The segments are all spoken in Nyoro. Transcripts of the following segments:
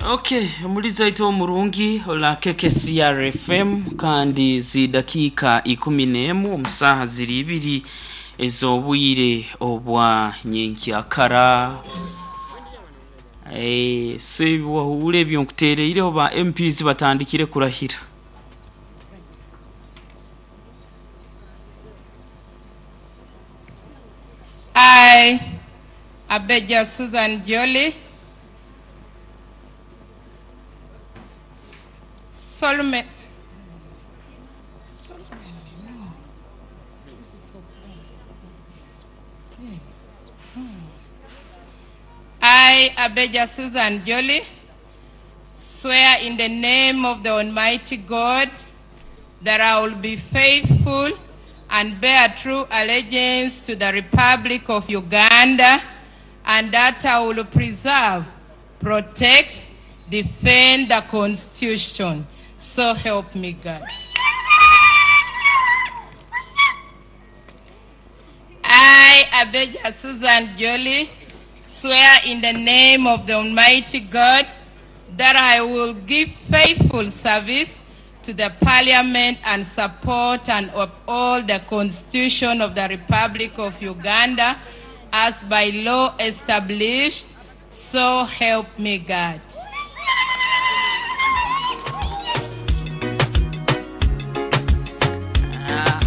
Okay, omulizi waitu omurungi ola KKCR FM, kandi zidakiika 11 omu saaha ziri ibiri ez'obwire obwa nyenkyakara. Eh, so wahuura ebyo nkuteereireho ba MPs batandikire kurahira. I, Abeja Susan Jolly, solemnly, I, Abeja Susan Jolly, swear in the name of the Almighty God that I will be faithful and bear true allegiance to the Republic of Uganda and that I will preserve, protect, defend the Constitution. So help me God. I, Abeja Susan Jolly, swear in the name of the Almighty God that I will give faithful service to the Parliament and support and uphold the Constitution of the Republic of Uganda as by law established. So help me God.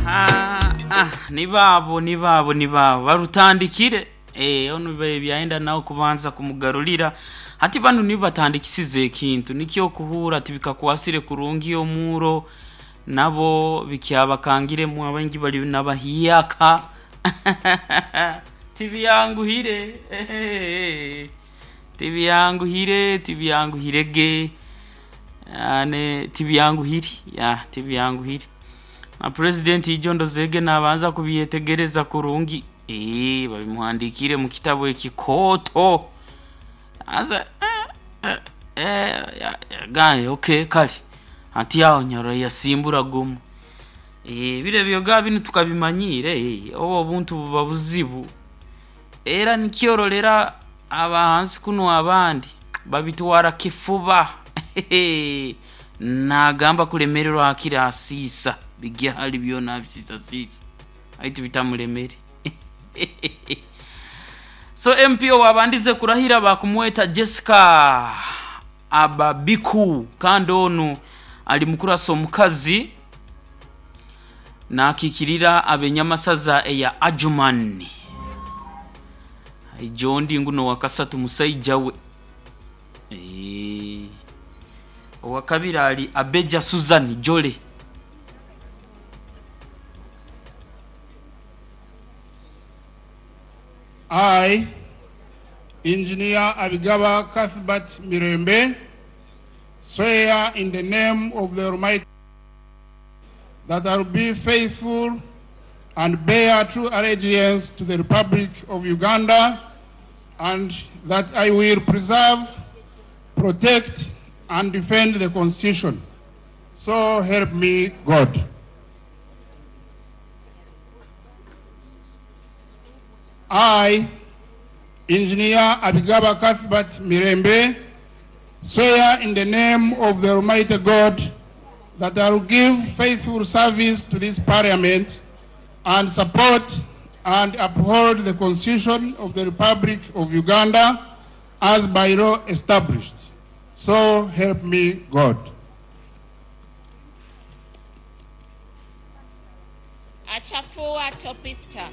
Aha, ah, ni baabo ni baabo ni baabo barutandikire. Eh, ono byayenda nawe kubanza kumugarulira hati banu nibo batandikisize ekintu nikyo okuhuura tibikakwasire kurungi omuuro nabo bikyabakangiremu abaingi bali nabahiyaka tibyanguhire. Tibyanguhire, tibyanguhire ge ane tibyanguhire ya tibyanguhire na president ijo ndozege nabanza kubyetegereza kurungi, babimuhandikire mu kitabu ekikooto aza gaye okay kale ati aho nyoro yasimbura gumu. Bire byoga binu tukabimanyire, obo obuntu buba buzibu era nikyorolera abahansi kuno abandi babitwara kifuba. Nagamba kulemererwa akira asiisa bigyali byona abisiisasiisa aitu bitamulemere. So MP owabandize kurahira bakumweta Jessica Ababiku, kandi onu ali mukurasa omukazi nakikirira abenyamasaza eya Adjumani. Ijondi nguno wakasatu musaija we. Owakabiri ali Abeja Susan Jole. I, Engineer Abigaba Cuthbert Mirembe, swear in the name of the Almighty that I will be faithful and bear true allegiance to the Republic of Uganda and that I will preserve, protect, and defend the Constitution. So help me God. I, Engineer Abigaba Cuthbert Mirembe, swear in the name of the Almighty God that I will give faithful service to this Parliament and support and uphold the Constitution of the Republic of Uganda as by law established. So help me God. Achafua Topista.